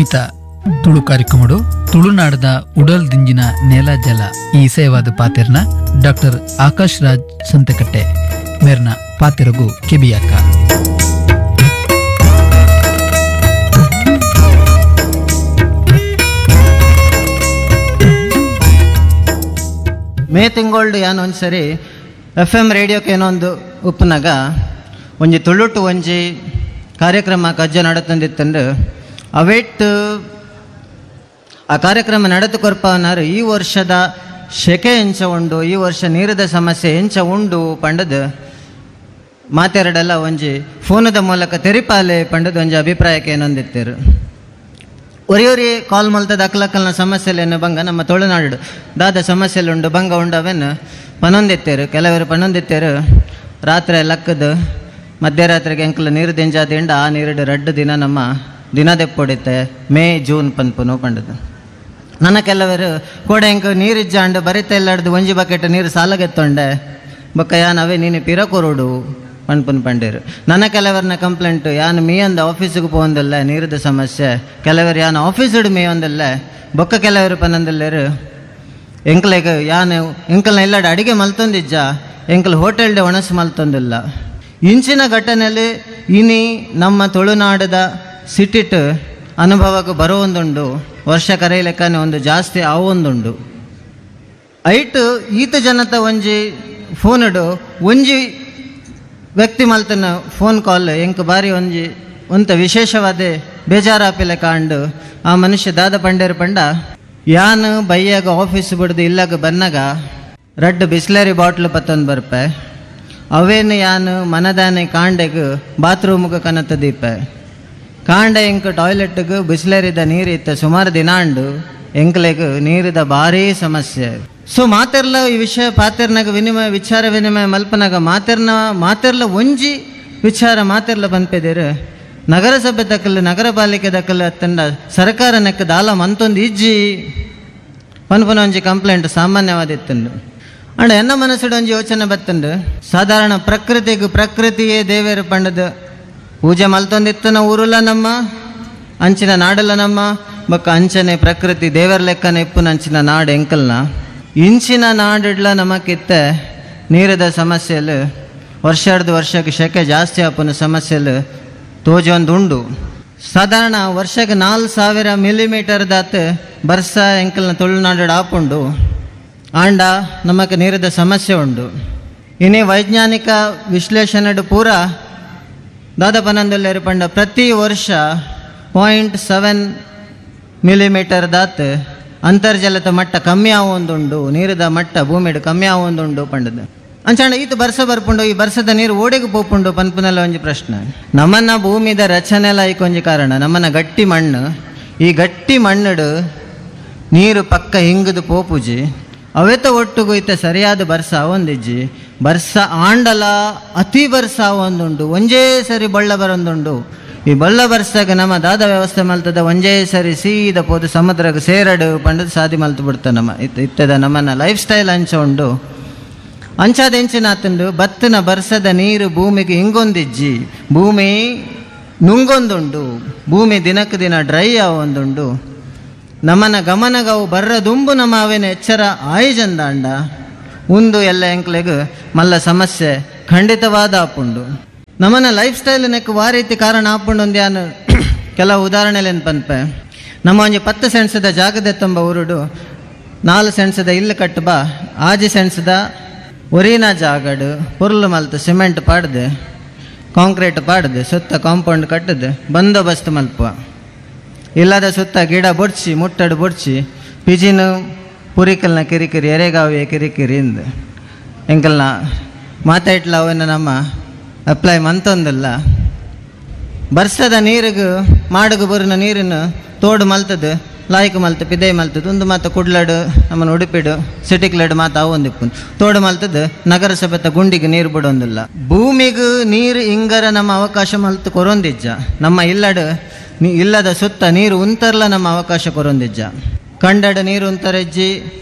ಇನಿತ ತುಳು ಕಾರ್ಯಕ್ರಮಡು ತುಳುನಾಡದ ಉಡಲ್ ದಿಂಜಿನ ನೆಲ ಜಲ ಈ ಸೇವಾದ ಪಾತೆರ್ನ ಡಾಕ್ಟರ್ ಆಕಾಶ್ ರಾಜ್ ಸಂತಕಟ್ಟೆ ಮೇರ್ನ ಪಾತೆರಗು ಕೆಬಿಯಾಕ. ಮೇ ತಿಂಗಳ್ಡು ಯಾನ್ ಒಂದ್ಸರಿ ಎಫ್ ಎಮ್ ರೇಡಿಯೋಕ್ಕೆ ಏನೋ ಒಂದು ಉಪ್ಪುನಾಗ ಒಂಜಿ ತುಳುಟು ಒಂಜಿ ಕಾರ್ಯಕ್ರಮ ಕಜ್ಜ ನಡತಂದಿತ್ತಂದು ಅವೇಟ್ ಆ ಕಾರ್ಯಕ್ರಮ ನಡೆದು ಕೊರ್ಪವನಾರು ಈ ವರ್ಷದ ಶೆಕೆ ಎಂಚ ಉಂಡು, ಈ ವರ್ಷ ನೀರದ ಸಮಸ್ಯೆ ಎಂಚ ಉಂಡು ಪಂಡದು ಮಾತೆರಡೆಲ್ಲ ಒಂಜಿ ಫೋನದ ಮೂಲಕ ತೆರಿಪಾಲೆ ಪಂಡದು ಒಂಜಿ ಅಭಿಪ್ರಾಯಕ್ಕೆ ಏನೊಂದಿತ್ತೇರು. ಒರಿಯೊರಿ ಕಾಲ್ ಮಲ್ತದ ಅಕ್ಲಕ್ಕಲ್ನ ಸಮಸ್ಯೆಲೇನು ಬಂಗ ನಮ್ಮ ತುಳುನಾಡು ದಾದ ಸಮಸ್ಯೆಲುಂಡು ಬಂಗ ಉಂಡು ಅವೇನು ಪನೊಂದಿತ್ತೇರು. ಕೆಲವರು ಪನೊಂದಿತ್ತೇರು ರಾತ್ರಿ ಲಕ್ಕದು ಮಧ್ಯರಾತ್ರಿಗೆ ಎಂಕಲ್ ನೀರು ದಿಂಜಾದಿಂಡ ಆ ನೀರುಡು ರಡ್ಡು ದಿನ ನಮ್ಮ ದಿನ ದೆಪ್ಪೊಡಿತ್ತೆ ಮೇ ಜೂನ್ ಪನ್ಪುನು ಪಂಡದು. ನನ್ನ ಕೆಲವರು ಕೋಡೆ ಎಂಕ್ ನೀರಿಜ್ಜಾಂಡು ಬರಿತ ಎಲ್ಲಡ್ದು ಒಂಜಿ ಬಕೆಟ್ ನೀರು ಸಾಲಗೆತ್ತೊಂಡೆ ಬೊಕ್ಕ ಯಾನ್ ಅವೇ ನೀನು ಪಿರ ಕೊರೋಡು ಪನ್ಪುನ್ ಪಂಡೇರು. ನನ್ನ ಕೆಲವರನ್ನ ಕಂಪ್ಲೇಂಟು ಯಾನ್ ಮೀಯಂದ ಆಫೀಸಿಗೆ ಪೋಂದಿಲ್ಲ ನೀರದ ಸಮಸ್ಯೆ, ಕೆಲವರು ಯಾನ್ ಆಫೀಸುಡು ಮೀಯೊಂದಿಲ್ಲ ಬೊಕ್ಕ ಕೆಲವರು ಪನ್ನೊಂದಿಲ್ಲೇರು ಎಂಕ್ಲೆಗ್ ಯಾನ್ ಎಂಕಲ್ನ ಇಲ್ಲಡ ಅಡಿಗೆ ಮಲ್ತೊಂದಿಜ್ಜ ಎಂಕಲ್ ಹೋಟೆಲ್ಡೆ ಒಣಸು ಮಲ್ತೊಂದಿಲ್ಲ. ಇಂಚಿನ ಘಟನೆಯಲ್ಲಿ ಇನಿ ನಮ್ಮ ತುಳುನಾಡದ ಸಿಟಿಟ್ ಅನುಭವಕ್ಕೆ ಬರುವೊಂದುಂಡು, ವರ್ಷ ಕರೆಯಲೆಕ್ಕನೆ ಒಂದು ಜಾಸ್ತಿ ಆವೊಂದುಂಡು. ಐಟ್ ಈತ ಜನತ ಒಂಜಿ ಫೋನುಡು ಒಂಜಿ ವ್ಯಕ್ತಿ ಮಲ್ತನ ಫೋನ್ ಕಾಲ್ ಎಂಕ್ ಬಾರಿ ಒಂಜಿ ಒಂತ ವಿಶೇಷವಾದ ಬೇಜಾರಾಪಿಲೆ ಕಾಂಡು. ಆ ಮನುಷ್ಯ ದಾದ ಪಂಡೇರು ಪಂಡ ಯಾನ್ ಬಯ್ಯಾಗ ಆಫೀಸ್ ಬಿಡ್ದು ಇಲ್ಲಾಗ ಬನ್ನಾಗ ರಡ್ಡು ಬಿಸ್ಲರಿ ಬಾಟ್ಲು ಪತ್ತೊಂದು ಬರ್ಪೆ ಅವೇನು ಯಾನು ಮನದಾನೆ ಕಾಂಡೆಗ್ ಬಾತ್ರೂಮ್ಗೆ ಕನತ ದೀಪ ಕಾಂಡ ಎಂಕ್ ಟಾಯ್ಲೆಟ್ಗೆ ಬಿಸ್ಲರಿದ ನೀರು ಇತ್ತ ಸುಮಾರು ದಿನಾಂಡು ಎಂಕ್ಲೆಗ್ ನೀರಿದ ಭಾರೀ ಸಮಸ್ಯೆ. ಸೊ ಮಾತೆರ್ಲ ಈ ವಿಷಯ ಪಾತೆರ್ನಾಗ ವಿನಿಮಯ ವಿಚಾರ ವಿನಿಮಯ ಮಲ್ಪನಾಗ ಮಾತೆರ್ನ ಮಾತೆರ್ಲ ಒಂಜಿ ವಿಚಾರ ಮಾತೆರ್ಲ ಪನ್ಪೆದೇರು ನಗರಸಭೆ ದಕ್ಕಲು ನಗರ ಪಾಲಿಕೆ ದಕ್ಕಲು ಅತ್ತಂಡ ಸರ್ಕಾರ ನೆಕ್ಕ ದಾಲ ಮಂತೊಂದು ಇಜ್ಜಿ ಪನ್ಪುನ ಒಂಜಿ ಕಂಪ್ಲೇಂಟ್ ಸಾಮಾನ್ಯವಾದಿತ್ತಂಡು. ಅಂಡ ಎನ್ನ ಮನಸ್ಸುಡು ಒಂಜಿ ಯೋಚನೆ ಬತ್ತಂಡು ಸಾಧಾರಣ ಪ್ರಕೃತಿಗೆ ಪ್ರಕೃತಿಯೇ ದೇವೇರು ಪಂಡದು ಪೂಜೆ ಮಲ್ತೊಂದಿತ್ತನ ಊರುಲ ನಮ್ಮ ಅಂಚಿನ ನಾಡಲ್ಲ ನಮ್ಮ ಬೊಕ್ಕ ಅಂಚನೆ ಪ್ರಕೃತಿ ದೇವರ ಲೆಕ್ಕನ ಇಪ್ಪುನ ಅಂಚಿನ ನಾಡು ಎಂಕಲ್ನ ಇಂಚಿನ ನಾಡಿಡ್ಲ ನಮಕಿತ್ತ ನೀರದ ಸಮಸ್ಯೆಲು ವರ್ಷಾರ್ದು ವರ್ಷಕ್ಕೆ ಶೆಕೆ ಜಾಸ್ತಿ ಆಪುನ ಸಮಸ್ಯೆಲು ತೋಜೊಂದುಂಡು. ಸಾಧಾರಣ ವರ್ಷಕ್ಕೆ 4000 ಮಿಲಿಮೀಟರ್ ದಾತ್ ಬರ್ಸ ಎಂಕಲ್ನ ತುಳುನಾಡು ಆಪುಂಡು ಆಂಡ ನಮಕ್ ನೀರದ ಸಮಸ್ಯೆ ಉಂಡು. ಇನ್ನೇ ವೈಜ್ಞಾನಿಕ ವಿಶ್ಲೇಷಣೆ ಪೂರ ದಾದಪನಂದಲ್ಲೇರು ಪಂಡ ಪ್ರತಿ ವರ್ಷ 0.7 ಮಿಲಿಮೀಟರ್ ದಾತ್ ಅಂತರ್ಜಲದ ಮಟ್ಟ ಕಮ್ಮಿ ಆವೊಂದುಂಡು, ನೀರದ ಮಟ್ಟ ಭೂಮಿಡು ಕಮ್ಮಿ ಆವೊಂದುಂಡು ಪಂಡದು. ಅಂಚಾಂಡ ಈತ ಬರ್ಸ ಬರ್ಪುಂಡು ಈ ಬರ್ಸದ ನೀರು ಓಡೆಗೆ ಪೋಪುಂಡು ಪನ್ಪುನೆಲ್ಲ ಒಂಜಿ ಪ್ರಶ್ನೆ. ನಮ್ಮನ್ನ ಭೂಮಿದ ರಚನೆಲ ಐಕೊಂಜಿ ಕಾರಣ ನಮ್ಮನ್ನ ಗಟ್ಟಿ ಮಣ್ಣು, ಈ ಗಟ್ಟಿ ಮಣ್ಣುಡು ನೀರು ಪಕ್ಕ ಹಿಂಗದು ಪೋಪುಜಿ ಅವೆತ ಒಟ್ಟುಗು ಈತ ಸರಿಯಾದ ಬರ್ಸ ಒಂದಿಜ್ಜಿ ಬರ್ಸ ಆಂಡಲ ಅತಿ ಬರ್ಸ ಒಂದುಂಡು ಒಂಜೇ ಸರಿ ಬಳ್ಳ ಬರೊಂದುಂಡು. ಈ ಬಳ್ಳ ಬರ್ಸಾಗ ನಮ್ಮ ದಾದ ವ್ಯವಸ್ಥೆ ಮಲ್ತದ ಒಂಜೇ ಸರಿ ಸೀದ ಪೋದು ಸಮುದ್ರಕ್ಕೆ ಸೇರಡು ಪಂಡದು ಸಾದಿ ಮಲ್ತು ಬಿಡ್ತ ನಮ್ಮ ಇತ್ತದ ನಮ್ಮನ್ನ ಲೈಫ್ ಸ್ಟೈಲ್ ಅಂಚ ಉಂಡು. ಅಂಚಾದ ಎಂಚಿನಾತುಂಡು ಬತ್ತಿನ ಬರ್ಸದ ನೀರು ಭೂಮಿಗೆ ಹಿಂಗೊಂದಿಜ್ಜಿ ಭೂಮಿ ನುಂಗೊಂದುಂಡು ಭೂಮಿ ದಿನಕ್ಕೆ ದಿನ ಡ್ರೈ ಆವೊಂದುಂಡು. ನಮ್ಮನ ಗಮನಗವು ಬರ್ರದುಂಬು ನಮ್ಮ ಅವೇನ ಎಚ್ಚರ ಆಯಿಜಂದಾಂಡ ಉಂದು ಎಲ್ಲ ಎಂಕ್ಲೆಗ್ ಮಲ್ಲ ಸಮಸ್ಯೆ ಖಂಡಿತವಾದ ಆಪುಂಡು. ನಮ್ಮನ ಲೈಫ್ ಸ್ಟೈಲ್ ನೆಕ್ ವಾ ರೀತಿ ಕಾರಣ ಆಪುಂಡು ಒಂದು ಯಾನು ಕೆಲವು ಉದಾಹರಣೆಲೇನು ಪನ್ಪೆ. ನಮ್ಮ ಒಂಜಿ 10 ಸೆಂಟ್ಸದ ಜಾಗದ ತುಂಬ ಊರುಡು 4 ಸೆಂಟ್ಸದ ಇಲ್ಲು ಕಟ್ಟು ಬಾ 6 ಸೆಂಟ್ಸದ ಒರಿನ ಜಾಗಡು ಪುರ್ಲು ಮಲ್ತು ಸಿಮೆಂಟ್ ಪಾಡ್ದು ಕಾಂಕ್ರೀಟ್ ಪಾಡ್ದು ಸುತ್ತ ಕಾಂಪೌಂಡ್ ಕಟ್ಟದು ಬಂದೋಬಸ್ತ್ ಮಲ್ಪುವ ಇಲ್ಲದ ಸುತ್ತ ಗಿಡ ಬೊಡ್ಚಿ ಮುಟ್ಟಡು ಬೊಡ್ಚಿ ಪಿಜಿನು ಪುರಿಕಲ್ನ ಕಿರಿಕಿರಿ ಎರೆಗಾವಿಯ ಕಿರಿಕಿರಿ ಇಂದು ಎಂಕಲ್ನ ಮಾತಾಡ್ಲ ಅವನ್ನ ನಮ್ಮ ಅಪ್ಲೈ ಮಂತೊಂದಿಲ್ಲ. ಬರ್ಸದ ನೀರಿಗೂ ಮಾಡಗು ಬರಿನ ನೀರನ್ನು ತೋಡು ಮಲ್ತದು ಲಾಯ್ಕ್ ಮಲ್ತು ಪಿದೈ ಮಲ್ತದು ಒಂದು ಮಾತು ಕುಡ್ಲಡು ನಮ್ಮನ್ನು ಉಡುಪಿಡು ಸಿಟಿಕ್ಲಡು ಮಾತು ಅವು ಒಂದಿಪ್ಪು ತೋಡು ಮಲ್ತದು ನಗರಸಭೆತ ಗುಂಡಿಗೆ ನೀರು ಬಿಡೊಂದಿಲ್ಲ. ಭೂಮಿಗೂ ನೀರು ಇಂಗರ ನಮ್ಮ ಅವಕಾಶ ಮಲ್ತು ಕೊರೊಂದಿಜ್ಜ ನಮ್ಮ ಇಲ್ಲಡು ಇಲ್ಲದ ಸುತ್ತ ನೀರು ಉಂತರ್ಲ ನಮ್ಮ ಅವಕಾಶ ಕೊರೊಂದಿಜ್ಜ. ಕಂಡಡು ನೀರು ಉಂತರೆಜ್ಜಿ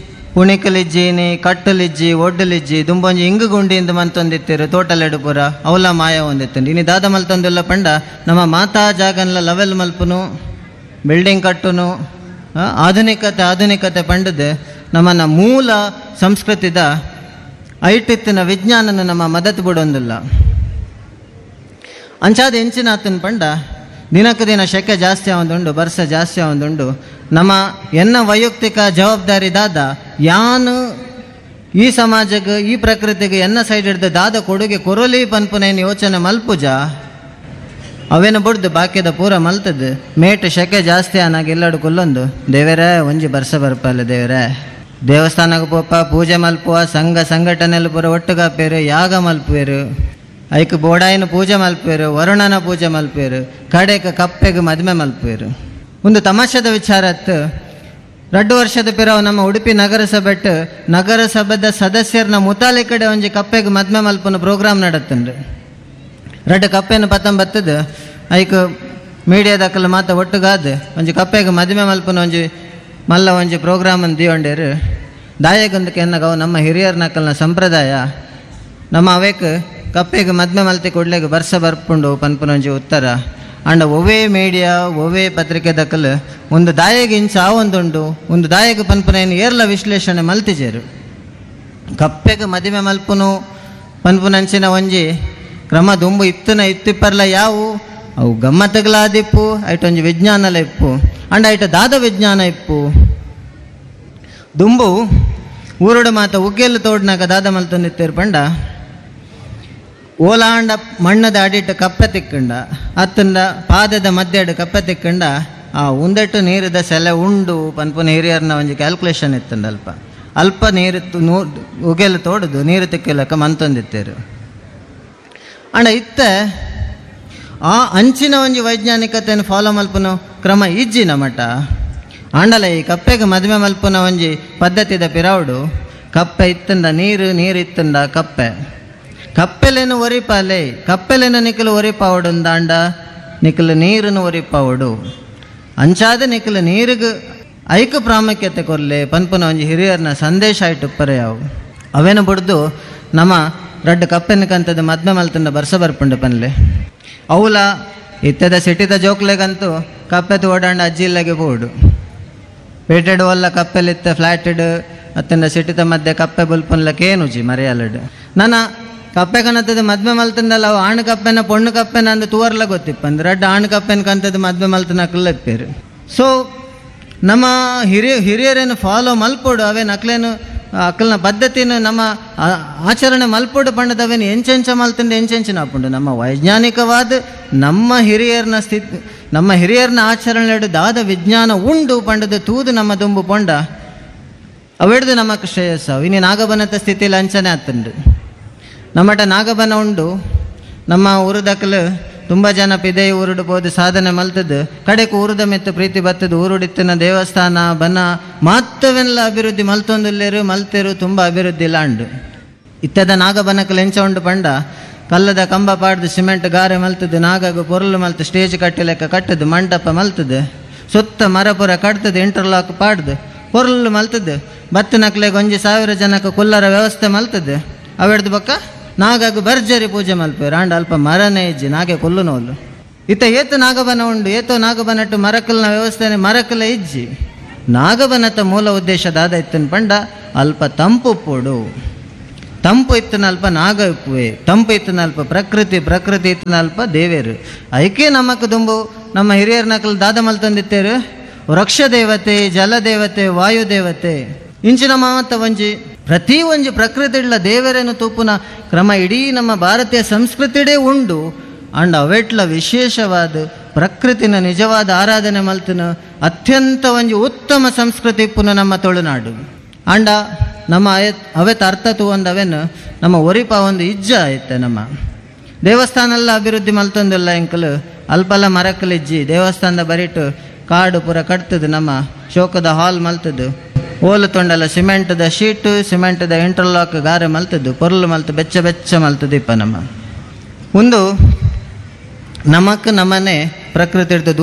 ಪುಣಿಕಲಿಜ್ಜಿನಿ ಕಟ್ಟಲಿಜ್ಜಿ ಒಡ್ಡಲಿಜ್ಜಿ ದುಂಬೊಂಜಿ ಇಂಗು ಗುಂಡಿಯಿಂದ ಮಂತೊಂದಿತ್ತಿರು ತೋಟಲೆಡು ಪೂರ ಅವಲ ಮಾಯ ಒಂದಿತ್ತು. ಇನಿ ದಾದ ಮಲ್ತೊಂದಿಲ್ಲ ಪಂಡ ನಮ್ಮ ಮಾತಾ ಜಾಗನ್ಲ ಲವೆಲ್ ಮಲ್ಪುನು Building ಕಟ್ಟುನು, ಆಧುನಿಕತೆ ಆಧುನಿಕತೆ ಪಂಡದು ನಮ್ಮನ್ನ ಮೂಲ ಸಂಸ್ಕೃತಿದ ಐಟಿತ್ತಿನ ವಿಜ್ಞಾನನ ನಮ್ಮ ಮದತ್ ಬಿಡೊಂದಿಲ್ಲ. ಅಂಚಾದ ಎಂಚಿನ ಆತನ ಪಂಡ ದಿನಕ್ಕೆ ದಿನ ಶೆಕೆ ಜಾಸ್ತಿ ಆವೊಂದುಂಡು, ಬರ್ಸ ಜಾಸ್ತಿ ಆವೊಂದುಂಡು. ನಮ್ಮ ಎನ್ನ ವೈಯಕ್ತಿಕ ಜವಾಬ್ದಾರಿ ದಾದ, ಯಾನು ಈ ಸಮಾಜಕ್ಕೆ ಈ ಪ್ರಕೃತಿಗೆ ಎನ್ನ ಸೈಡ್ ಹಿಡ್ದು ದಾದ ಕೊಡುಗೆ ಕೊರಲಿ ಪನ್ಪುನೇನು ಯೋಚನೆ ಮಲ್ಪುಜ ಅವೇನು ಬುಡ್ದು ಬಾಕಿದ ಪೂರ ಮಲ್ತದ್ದು. ಮೇಟ್ ಶೆಕೆ ಜಾಸ್ತಿ ಆನಾಗ ಎಲ್ಲಡು ಕುಲ್ಲೊಂದು ದೇವರೇ ಒಂಜಿ ಬರ್ಸ ಬರ್ಪಲ್ಲ ದೇವರೇ, ದೇವಸ್ಥಾನಕ್ಕೆ ಪೋಪ ಪೂಜೆ ಮಲ್ಪುವ, ಸಂಘ ಸಂಘಟನೆಯಲ್ಲಿ ಪೂರ ಒಟ್ಟುಗಾಪೇರು, ಯಾಗ ಮಲ್ಪುವೇರು, ಐಕ್ ಬೋಡಾಯಿನ ಪೂಜೆ ಮಲ್ಪುವೇರು, ವರುಣನ ಪೂಜೆ ಮಲ್ಪುವೇರು, ಕಡೆಕ ಕಪ್ಪೆಗೆ ಮದುವೆ ಮಲ್ಪುವೇರು. ಒಂದು ತಮಾಷೆದ ವಿಚಾರ ಅತ್ತು. 2 ವರ್ಷದ ಪಿರವು ನಮ್ಮ ಉಡುಪಿ ನಗರಸಭೆಟ್ ನಗರಸಭೆದ ಸದಸ್ಯರನ್ನ ಮುತಾಲಿ ಕಡೆ ಒಂಜಿ ಕಪ್ಪೆಗೆ ಮದ್ಮೆ ಮಲ್ಪುನ ಪ್ರೋಗ್ರಾಮ್ ನಡತ್ತನ್ರಿ. 2 ಕಪ್ಪೆನ ಪತ್ತೊಂಬತ್ತದ ಐಕ್ ಮೀಡಿಯಾದಕ್ಕಲ್ಲ ಮಾತ ಒಟ್ಟುಗಾದ ಒಂಜಿ ಕಪ್ಪೆಗೆ ಮದುವೆ ಮಲ್ಪುನ ಒಂಜಿ ಮಲ್ಲ ಒಂಜಿ ಪ್ರೋಗ್ರಾಮ್ ಅನ್ನು ದಿಯೊಂಡೇರು. ದಾಯಗೊಂದಕ್ಕೆ ಎನ್ನಗವು ನಮ್ಮ ಹಿರಿಯರ ನಕಲ್ನ ಸಂಪ್ರದಾಯ ನಮ್ಮ ಅವೇಕ್ ಕಪ್ಪೆಗೆ ಮದ್ಮೆ ಮಲ್ತಿ ಕೊಡ್ಲೆಗೆ ಬರ್ಸ ಬರ್ಪುಂಡು ಪನ್ಪುನ ಒಂಜಿ ಉತ್ತರ. ಅಂಡ ಒವೇ ಮೀಡಿಯಾ ಒವೇ ಪತ್ರಿಕೆ ದಕ್ಕಲು ಒಂದು ದಾಯಗೆ ಇಂಚ ಆವೊಂದುಂಡು, ಒಂದು ದಾಯಗೆ ಪನ್ಪುನ ಏರ್ಲ ವಿಶ್ಲೇಷಣೆ ಮಲ್ತಿಜೇರು. ಕಪ್ಪೆಗೆ ಮದುವೆ ಮಲ್ಪುನು ಪನ್ಪುನಂಚಿನ ಒಂಜಿ ಕ್ರಮ ದುಂಬು ಇತ್ತನ ಇತ್ತಿಪ್ಪರ್ಲ ಯಾವು ಅವು ಗಮ್ಮತ್ತುಗಳಾದಿಪ್ಪು, ಐಟೊಂಜಿ ವಿಜ್ಞಾನಲ ಇಪ್ಪು, ಅಂಡ ಐಟ ದಾದ ವಿಜ್ಞಾನ ಇಪ್ಪು. ದುಂಬು ಊರುಡು ಮಾತ ಉಗ್ಗೆಲ್ಲು ತೋಡ್ನಾಗ ದಾದ ಮಲ್ತೊಂದಿತ್ತೇರು ಪಂಡ ಓಲಾಂಡ ಮಣ್ಣದ ಅಡಿಟ್ಟು ಕಪ್ಪೆ ತಿಕ್ಕಂಡ ಅತ್ತಂಡ ಪಾದದ ಮಧ್ಯಡು ಕಪ್ಪೆ ತಿಕ್ಕಂಡ ಆ ಉಂದಟ್ಟು ನೀರಿದ ಸೆಲೆ ಉಂಡು ಪನ್ಪುನ ಹಿರಿಯರ್ನ ಒಂಜಿ ಕ್ಯಾಲ್ಕುಲೇಷನ್ ಇತ್ತಂಡ. ಅಲ್ಪ ಅಲ್ಪ ನೀರು ಉಗೆಲು ತೋಡುದು ನೀರು ತಿಕ್ಕಲಕ್ಕ ಮಂತೊಂದಿತ್ತೇರು. ಅಂಡ ಇತ್ತ ಆ ಅಂಚಿನ ಒಂಜಿ ವೈಜ್ಞಾನಿಕತೆಯನ್ನು ಫಾಲೋ ಮಲ್ಪುನ ಕ್ರಮ ಇಜ್ಜಿನ ಮಠ. ಆಂಡಲ ಈ ಕಪ್ಪೆಗೆ ಮದುವೆ ಮಲ್ಪುನ ಒಂಜಿ ಪದ್ಧತಿದ ಪಿರಾವುಡು ಕಪ್ಪೆ ಇತ್ತಂಡ ನೀರು, ನೀರು ಇತ್ತಂಡ ಕಪ್ಪೆ, ಕಪ್ಪೆಲೇನು ಒರಿಪಾಲೆ, ಕಪ್ಪೆಲೇನು ನಿಖಲು ಒರಿಪಾವಡು ಅಂದಾಂಡ ನಿಖಲು ನೀರನ್ನು ಒರಿಪಾವಡು, ಅಂಚಾದ ನಿಖಲು ನೀರಿಗೆ ಐಕ ಪ್ರಾಮುಖ್ಯತೆ ಕೊರ್ಲೆ ಪನ್ಪುನ ಒಂಜಿ ಹಿರಿಯರ್ನ ಸಂದೇಶ ಆಯ್ಟುಪ್ಪರೆ ಯಾವು. ಅವೇನು ಬುಡ್ದು ನಮ್ಮ ರಡ್ಡು ಕಪ್ಪೆನ ಕಂತದ ಮದ್ಮೆ ಮಲ್ತಂಡ ಬರ್ಸ ಬರ್ಪುಂಡು ಪನ್ಲೆ. ಅವಲ ಇತ್ತದ ಸಿಟಿದ ಜೋಕ್ಲೆಗಂತೂ ಕಪ್ಪೆತು ಓಡಾಂಡ ಅಜ್ಜಿ ಇಲ್ಲಗೆ ಬೋಡು ಪೇಟೆಡ್ ಒಲ್ಲ ಕಪ್ಪೆಲಿತ್ತ ಫ್ಲಾಟೆಡ್ ಅತ್ತಂಡ ಸಿಟಿದ ಮಧ್ಯೆ ಕಪ್ಪೆ ಬುಲ್ಪನ್ಲಕ್ಕೆ ಏನುಜಿ ಮರೆಯಲಡು. ನನ್ನ ಕಪ್ಪೆ ಕಣತದ ಮದ್ಮೆ ಮಲ್ತಂಡಲ್ಲ ಅವು ಆಣು ಕಪ್ಪೆನ ಪೊಣ್ಣು ಕಪ್ಪೆನ ಅಂದ ತುವರ್ಲ ಗೊತ್ತಿಪ್ಪ ಅಂದ್ರೆ ರಡ್ಡು ಆಣು ಕಪ್ಪೆನ ಕಂತದ ಮದ್ಮೆ ಮಲ್ತನ ಅಕ್ಲಪ್ಪೇರು. ಸೊ ನಮ್ಮ ಹಿರಿಯರೇನು ಫಾಲೋ ಮಲ್ಪೋಡು, ಅವೇನು ಅಕ್ಲೇನು ಅಕ್ಕಲ್ನ ಪದ್ಧತಿನ ನಮ್ಮ ಆಚರಣೆ ಮಲ್ಪೋಡು ಪಂಡದವೇನು ಎಂಚೆಂಚ ಮಲ್ತಂಡು ಎಂಚೆಂಚಿನ ಆಪುಂಡು. ನಮ್ಮ ವೈಜ್ಞಾನಿಕವಾದ ನಮ್ಮ ಹಿರಿಯರ್ನ ಸ್ಥಿತಿ ನಮ್ಮ ಹಿರಿಯರ್ನ ಆಚರಣೆ ದಾದ ವಿಜ್ಞಾನ ಉಂಡು ಪಂಡದ ತೂದು ನಮ್ಮ ದುಂಬು ಪೊಂಡ ಅವೆಡ್ದು ನಮಕ್ ಶ್ರೇಯಸ್ಸು. ಇನ್ನು ನಾಗಬನತ ಸ್ಥಿತಿಯಲ್ಲಿ ಅಂಚನೆ ಆತಂಡು. ನಮ್ಮಟ ನಾಗಬನ ಉಂಡು, ನಮ್ಮ ಊರುದಕ್ಕಲು ತುಂಬ ಜನ ಪಿದೆ ಊರುಡು ಪೋದು ಸಾಧನೆ ಮಲ್ತದ್ದು, ಕಡೆಗೆ ಊರುದ ಮೆತ್ತು ಪ್ರೀತಿ ಬತ್ತದು, ಊರುಡಿತ್ತಿನ ದೇವಸ್ಥಾನ ಬನ ಮಾತ್ರವೆಲ್ಲ ಅಭಿವೃದ್ಧಿ ಮಲ್ತೊಂದುಲ್ಲೇರು ಮಲ್ತೇರು ತುಂಬ ಅಭಿವೃದ್ಧಿ ಇಲ್ಲ ಅಂಡು. ಇತ್ತದ ನಾಗಬನಕ್ಕಲು ಎಂಚ ಉಂಡು ಪಂಡ ಕಲ್ಲದ ಕಂಬ ಪಾಡ್ದು ಸಿಮೆಂಟ್ ಗಾರೆ ಮಲ್ತದ್ದು, ನಾಗಗು ಪೊರ್ಲು ಮಲ್ತು ಸ್ಟೇಜ್ ಕಟ್ಟಿ ಲೆಕ್ಕ ಕಟ್ಟದು, ಮಂಟಪ ಮಲ್ತದ್ದು, ಸುತ್ತ ಮರಪುರ ಕಟ್ತದ್ದು, ಇಂಟರ್ಲಾಕ್ ಪಾಡ್ದು ಪೊರ್ಲು ಮಲ್ತದ್ದು, ಬತ್ತು ನಕ್ಲೆಗೆ 1,000 ಜನಕ್ಕೆ ಕುಲ್ಲರ ವ್ಯವಸ್ಥೆ ಮಲ್ತದ್ದು. ಅವೆಡ್ದು ಬಕ್ಕ ನಾಗಾಗು ಭರ್ಜರಿ ಪೂಜೆ ಮಲ್ಪೇರು. ಆಂಡ ಅಲ್ಪ ಮರನೇ ಇಜ್ಜಿ ನಾಗೆ ಕೊಲ್ಲು ನೋಲು. ಇತ್ತ ಏತು ನಾಗಬನ ಉಂಡು, ಏತೋ ನಾಗಬನಟ್ಟು ಮರಕಲ್ನ ವ್ಯವಸ್ಥೆನೆ ಮರಕಲ ಇಜ್ಜಿ. ನಾಗಬನತ ಮೂಲ ಉದ್ದೇಶ ದಾದ ಇತ್ತನ ಪಂಡ ಅಲ್ಪ ತಂಪು ಪೋಡು, ತಂಪು ಇತ್ತನ ಅಲ್ಪ ನಾಗ ಇಪ್ಪುವೆ, ತಂಪು ಇತ್ತನ ಅಲ್ಪ ಪ್ರಕೃತಿ, ಪ್ರಕೃತಿ ಇತ್ತನ ಅಲ್ಪ ದೇವೇರು. ಐಕೆ ನಮಕ್ ದುಂಬು ನಮ್ಮ ಹಿರಿಯರ ನಕಲು ದಾದ ಮಲ್ತಂದಿತ್ತೇರು ವೃಕ್ಷ ದೇವತೆ, ಜಲದೇವತೆ, ವಾಯುದೇವತೆ ಇಂಚಿನ ಮಾತ ಒಂಜಿ ಪ್ರತಿ ಒಂಜಿ ಪ್ರಕೃತಿ ಇಡ್ಲ ದೇವರೇನು ತೂಪುನ ಕ್ರಮ ಇಡೀ ನಮ್ಮ ಭಾರತೀಯ ಸಂಸ್ಕೃತಿಡೇ ಉಂಡು. ಅಂಡ್ ಅವೆಟ್ಲ ವಿಶೇಷವಾದ ಪ್ರಕೃತಿನ ನಿಜವಾದ ಆರಾಧನೆ ಮಲ್ತನ ಅತ್ಯಂತ ಒಂಜಿ ಉತ್ತಮ ಸಂಸ್ಕೃತಿ ಪುನಃ ನಮ್ಮ ತುಳುನಾಡು. ಅಂಡ ನಮ್ಮ ಅವೆತ ಅರ್ಥ ತೂವಂದು ಅವೇನು ನಮ್ಮ ಒರಿಪ ಒಂದು ಇಜ್ಜ ಐತೆ. ನಮ್ಮ ದೇವಸ್ಥಾನ ಎಲ್ಲ ಅಭಿವೃದ್ಧಿ ಮಲ್ತೊಂದಿಲ್ಲ ಎಂಕಲು ಅಲ್ಪಲ್ಲ ಮರಕಲಿಜ್ಜಿ ದೇವಸ್ಥಾನದ ಬರಿಟು ಕಾಡು ಪೂರ ಕಟ್ತದು, ನಮ್ಮ ಶೋಕದ ಹಾಲ್ ಮಲ್ತದ್ದು, ಓಲು ತೊಂಡಲ್ಲ ಸಿಮೆಂಟದ ಶೀಟು ಸಿಮೆಂಟದ ಇಂಟರ್ಲಾಕ್ ಗಾರೆ ಮಲ್ತದ್ದು, ಪೊರ್ಲು ಮಲ್ತು ಬೆಚ್ಚ ಬೆಚ್ಚ ಮಲ್ತದ್ದು ಇಪ್ಪ ನಮ್ಮ ಒಂದು ನಮಕ್ ನಮ್ಮನೆ ಪ್ರಕೃತಿ ಹಿಡ್ದು.